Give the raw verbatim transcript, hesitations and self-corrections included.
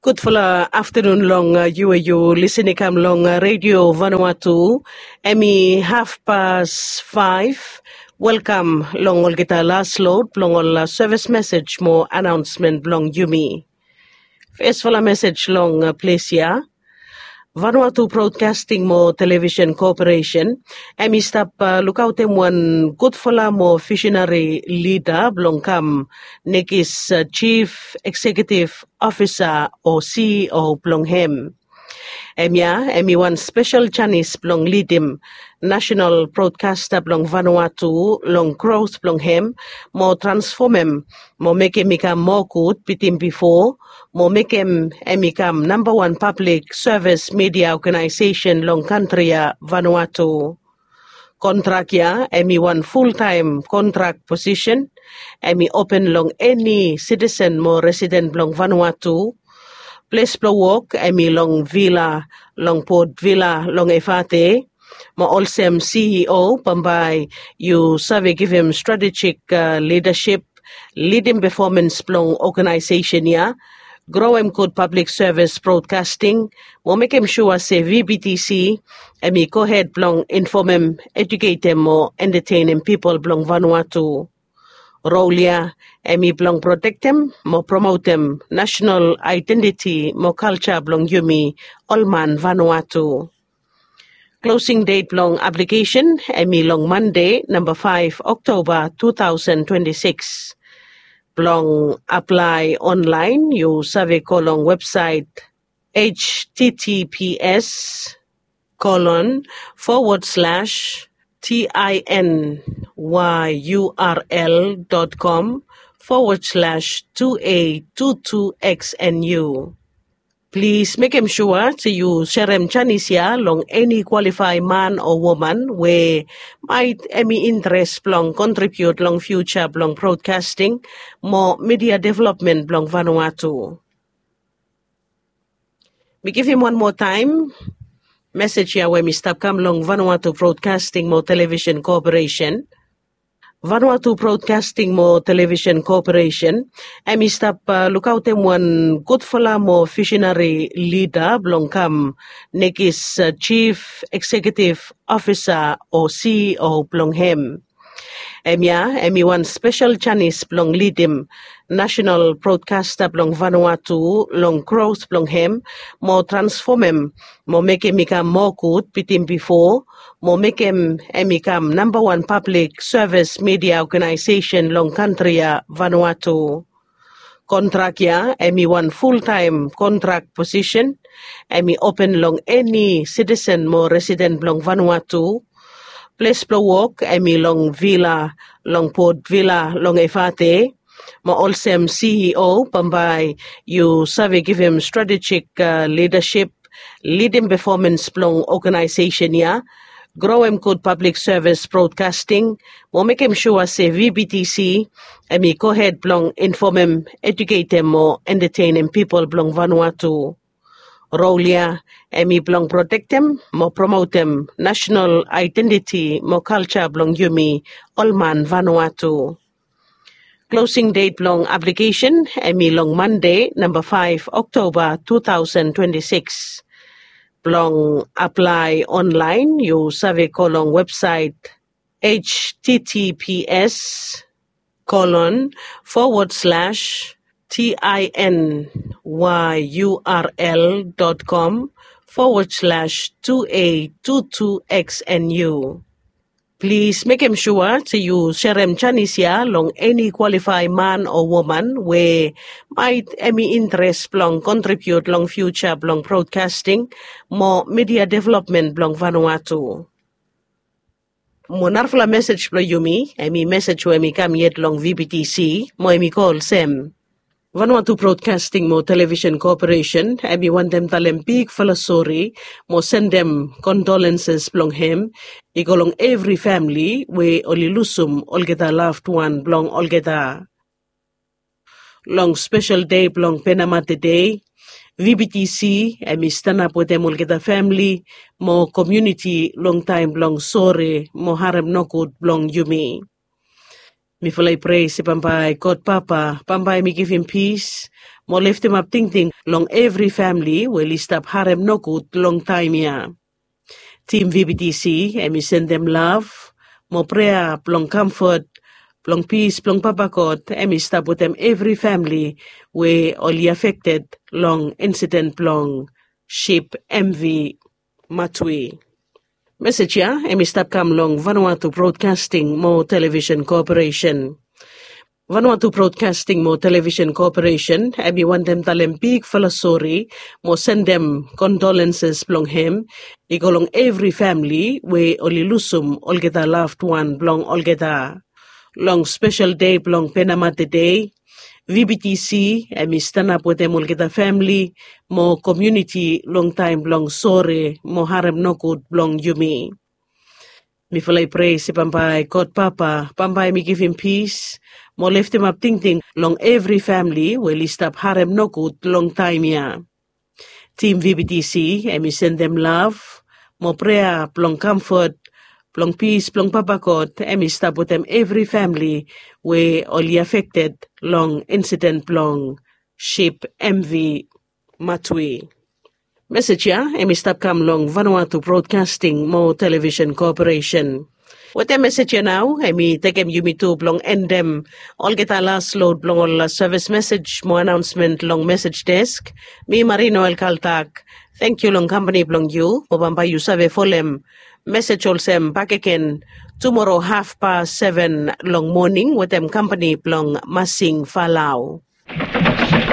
Gudfala aftanun long yu we yu lisin i kam long redio Vanuatu. Em i hafpas faef. Welkam long olgeta las lod blong ol sevis mesej mo anaonsmen blong yumi. Fesfala mesej long ples ya. Vanuatu Broadcasting mo Television Corporation em i stap lukaotem wan gudfala mo visinari lida blong kam nekis Chief Executive Officer o CEO blong hem. Em ya em i wan spesel janis blong lidim nasenal brodkasta blong Vanuatu long grot blong hem mo transfomem mo mekem i kam moa gud bitim bifo mo mekem em i kam nambawan pablik sevis midia oganaesesen long kantri ya Vanuatu. Kontrak ya em i wan fultaem kontrak posisen. Em i open long eni sitisen mo residen blong Vanuatu. Ples blong wok em i long vila long Port Vila long Evate. Mo olsem CEO bambae yu save givim stratejik lidasip, lidim pefomans blong oganaesesen ya, groem gud pablik sevis brodkasting mo mekem sua se VBTC em i gohed blong infomem, ejuketem mo entatenem pipol blong Vanuatu. Rol ya em i blong protektem mo promotem nasenal aedentiti mo kalja blong yumi ol man Vanuatu. Klosing det blong aplikesen em i long Mande namba faef Oktoba tu taosen twenti sikis. Blong aplae onlaen yu save go long websaet https colon forward slash tinyurl dot com forward slash two a two two xnu. Plis mekem sua se yu serem janis ya long eni kwalifae man o woman we maet em i interes blong kontribiut long fiuja blong brodkasting mo midia developmen blong Vanuatu. Mi givim wan moa taem mesej ya we mi stap kam long Vanuatu Brodkasting mo Television Koperesen. Vanuatu Brodkasting mo Television Koperesen em i stap lukaotem wan gudfala mo visinari lida blong kam nekis Chief Executive Officer o CEO blong hem. Em ya em i wan spesel janis blong lidim nasenal brodkasta blong Vanuatu long grot blong hem mo transfomem mo mekem i kam moa gud bitim bifo mo mekem em i kam nambawan pablik sevis midia oganaesesen long kantri ya Vanuatu. Kontrak ya em i wan fultaem kontrak posisen. Em i open long eni sitisen mo residen blong Vanuatu. Ples blong wok em i long vila long Port Vila long Evate. Mo olsem CEO bambae yu save givim stratejik lidasip, lidim pefomans blong oganaesesen ya, groem gud pablik sevis brodkasting mo mekem sua se VBTC em i gohed blong infomem, ejuketem mo entatenem pipol blong Vanuatu. Rol ya em i blong protektem mo promotem nasenal aedentiti mo kalja blong yumi ol man Vanuatu. Klosing det blong aplikesen em i long Mande namba faef Oktoba tu taosen twenti sikis. Blong aplae onlaen yu save go long websaet https colon forward slash tinyurl dot com forward slash two a two two xnu. Plis mekem sua se yu serem janis ya long eni kwalifae man o woman we maet em i interes blong kontribiut long fiuja blong brodkasting mo midia developmen blong Vanuatu. Mo narafala mesej blong yumi em i mesej we em i kam yet long VBTC mo em i go olsem. Vanuatu Brodkasting mo Televisen Koperesen em i wantem talem bigfala sori mo sendem kondolenses blong hem i go long evri famili we oli lusum olgeta laved wan blong olgeta. Long spesel dei blong Penamate Dei, VBTC em i stanap wetem olgeta famili mo komuniti long taem blong sori mo harem nogud blong yumi. Mifala i prea se bambae God Papa bambae mi givim pis mo leftemap tingting long evri famili we oli stap harem nogud long taem ya. Tim V B T C em i sendem lav mo prea blong kamfot blong pis blong Papa God em i stap wetem evri famili we oli afekted long insiden blong sip M V Matwi. Mesej ya em i stap kam long Vanuatu Broadcasting mo Television Corporation. Vanuatu Broadcasting mo Television Corporation em i wantem talem bigfala sori mo sendem kondolenses blong hem i go long evri famili we oli lusum olgeta laved wan blong olgeta. Long spesel dei blong Penamate Dei, V B T C em i stanap wetem olgeta famili mo komuniti long taem blong sore mo harem nogud blong yumi. Mifala i prea se bambae God Papa bambae mi givim pis mo leftemap tingting long evri famili we oli stap harem nogud long taem ya. Tim V B T C em i sendem lav mo prea blong kamfot blong pis blong Papa God em i stap wetem evri famili we oli afekted long insiden blong sip M V Matwi. Mesej ya em i stap kam long Vanuatu Broadcasting mo Television Corporation. Wetem mesej ya nao em i tekem yumi tu blong endem olgeta las lod blong ol las sevis mesej mo anaonsmen long mesej desk. Mi Marino Elkaltak, tangkiu long kampani blong yu mo bambae yu save folem mesej olsem bakegen tumoro hafpas seven long moning wetem kampani blong Masing Falau.